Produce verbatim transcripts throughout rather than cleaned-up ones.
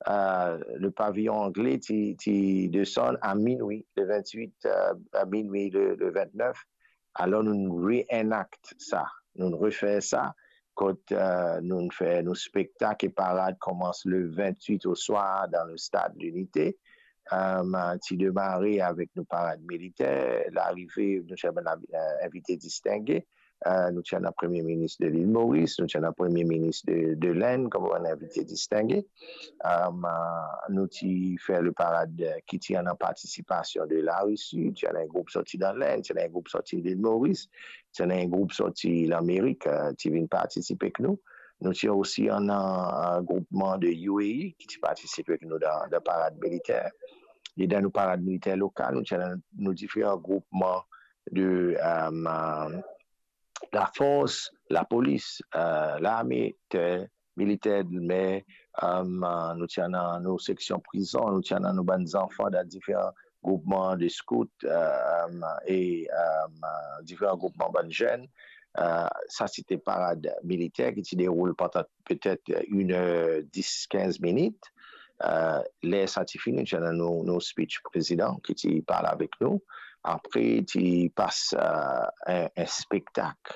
euh, le pavillon anglais ti, ti desann à minuit le vingt-huit, euh, à minuit le, le vingt-neuf. Alors, nou reenact sa, nou refer sa, kot, euh, nou fer nou spektak e parad koumans le vingt-huit au soir dans le stade L'Unité. Euh, ti demare avek nou parad militer, larive, nou ti ena, euh, invite distinge. Euh, nou ti ena Premie Minis de Lil Moris, nou ti ena Premie Minis de, de Lenn, kom bann invite distinge. Euh, nou ti fer le parad, euh, ki ti ena partisipasion de Larisi, ti ena enn group sorti dan Lenn, ti ena enn group sorti Lil Moris, ti ena enn group sorti Lamerik, euh, ti vinn partisipe ek nou. Nou ti osi ena, euh, groupman de U A E ki ti partisipe ek nou dan, dan parad militer. E dan nou parad militer lokal, nou ti ena nou diferan groupman de, euh, lafors, lapolis, euh, lame, ter, militer, mer, euh, nou ti ena nou seksion prizon, nou ti ena nou bann zanfan dan diferan groupman de scout, euh, e, euh, diferan groupman bann zenn. Euh, sa ti ete parad militer ki ti deroul pandan petet enn er dis, kinz minit. Euh, ler sa ti fini, ti ena nou, nou speech prezidan ki ti parl avek nou. Apre, ti pas, euh, enn, enn spektak.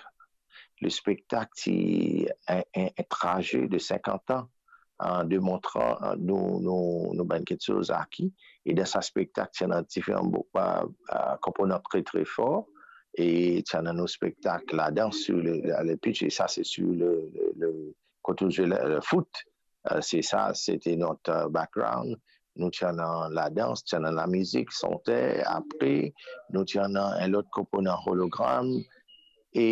Le spektak ti enn, enn, enn traze de sinkant an, euh, demontran, euh, nou, nou, nou bann kiksoz aki. E dan sa spektak, ti ena diferan bo-, euh, euh, konponan tre, tre for. E ti ena nou spektak ladans sur le, le, le pitch, e sa, se sur le, le, le, kot ou zwe le, le foot. Euh, se sa, se ete not, euh, background. Nou ti ena ladans, ti ena lamizik, sonter. Apre, nou ti ena enn lot konponan hologram. E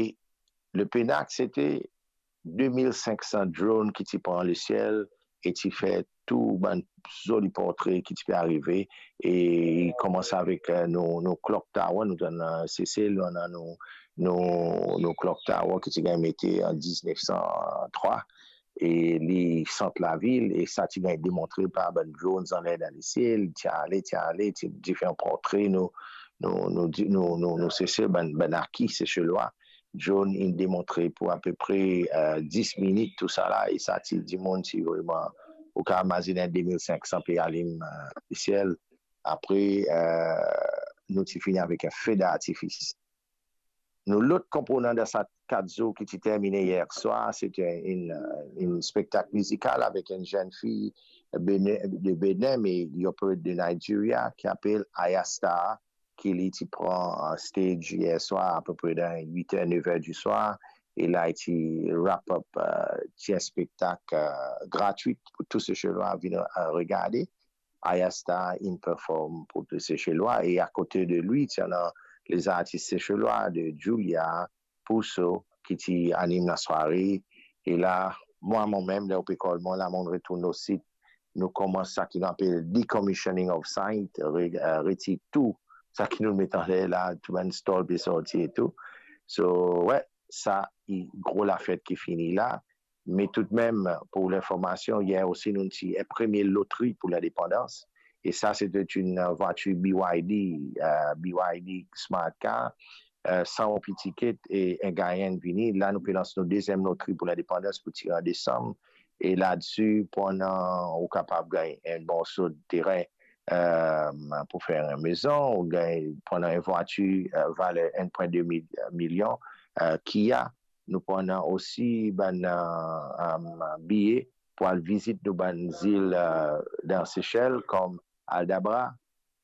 le pena, se ete de mil sink san drone ki ti pran lesiel e ti fer tou bann zoli portre ki ti pe arive. E li koumans avek, euh, nou, nou clock tower, nou dan, euh, Sesel, nou ena nou, nou, nou clock tower ki ti gagn mete an diznef san trwa. E li sant lavil, e sa ti gagn demontre par bann drones anler dan lesiel, ti ale, ti ale, ti diferan portre nou, nou, nou, nou, nou, nou Sesel, bann, bann aki Seselwa. Drone inn demontre pou apepre, euh, dis minit tousala, e sa ti dimoun ti vreman, ou kapav imazinn de mil sink san pe alim, euh, lesiel. Apre, euh, nou ti fini avek enn fe d'artifis. Nou lot konponan dan sa kat zour ki ti termine yer swar, se ete enn, euh, enn spektak mizikal avek enn zenn fi Bene-, de Benin, me li operate de Nigeria, ki apel Ayastar, ki li ti pran, euh, stage yer swar apepre dan wit er, nef er diswar, e la li ti wrap up, euh, ti enn spektak, euh, gratwit pou tou Seselwa vinn, euh, regade. Ayastar inn perform pou tou Seselwa, e akote de li, ti ena lezartis Seselwa, de Julia, Pouso, ki ti anim lasware. E la, mwa, momem, ler ou pe kol mwa la, mo retourn o sit, nou koumans sa ki nou apel decommissioning of site, re-, euh, retir tou sa ki nou met anler la, tou bann stol pe sorti e tou. So, we, sa, i gro lafet ki fini la. Me toudmem, pou linformasion, yer osi nou ti enn premie lotri pou lindepandans. E sa, se ete enn vwatir B Y D, euh, B Y D Smart Car, euh, san roupi tiket e enn gagnan vini. La, nou pe lans nou deziem lotri pou lindepandans pou tire an desam. E ladsi, pandan ou kapav gagn enn morso terin, euh, pou fer enn mezon, ou gagn, pandan enn vwatir, euh, valer enn pwin de mil, milion, euh, Kia. Nou pran osi bann, euh, euh, biye pou al vizit nou bann zil, euh, dan Sesel, kom Aldabra,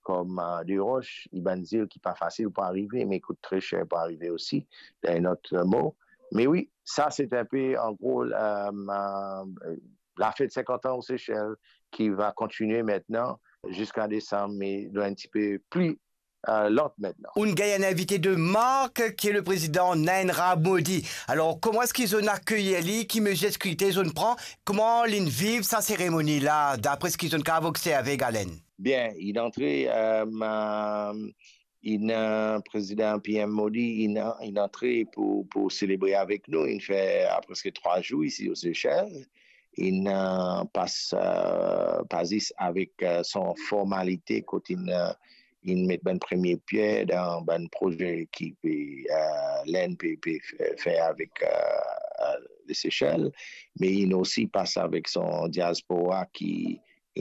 kom, euh, Desroches, e bann zil ki pa fasil pou arive, me kout tre ser pou arive osi, dan enn lot mo. Me wi, sa se enn pe, an gro, euh, euh, lafet sinkant an o Sesel ki va kontinie aster ziska desam, me dan enn tipe pli, euh, lant aster. Ou'nn gagn enn invite de mark, ki le prezidan Narendra Modi. Alor, kouma eski zot inn akeyir li? Ki mezir sekirite zot inn pran? Kouma linn viv sa seremoni la, dapre seki zot inn kapav observe, Galen? Bien, inn antre, euh, euh, inn, euh, prezidan P M Modi, inn, inn antre pou, pou selebre avek nou, inn fer, euh, preske trwa zour isi o Sesel. Inn, euh, pas, euh, pa zis avek, euh, son formalite kot inn, euh, inn met bann premie pier dan bann proze ki pe, euh, Lenn pe, pe fer, fer avek, euh, euh, le Sesel, me inn osi pas avek son diaspora ki,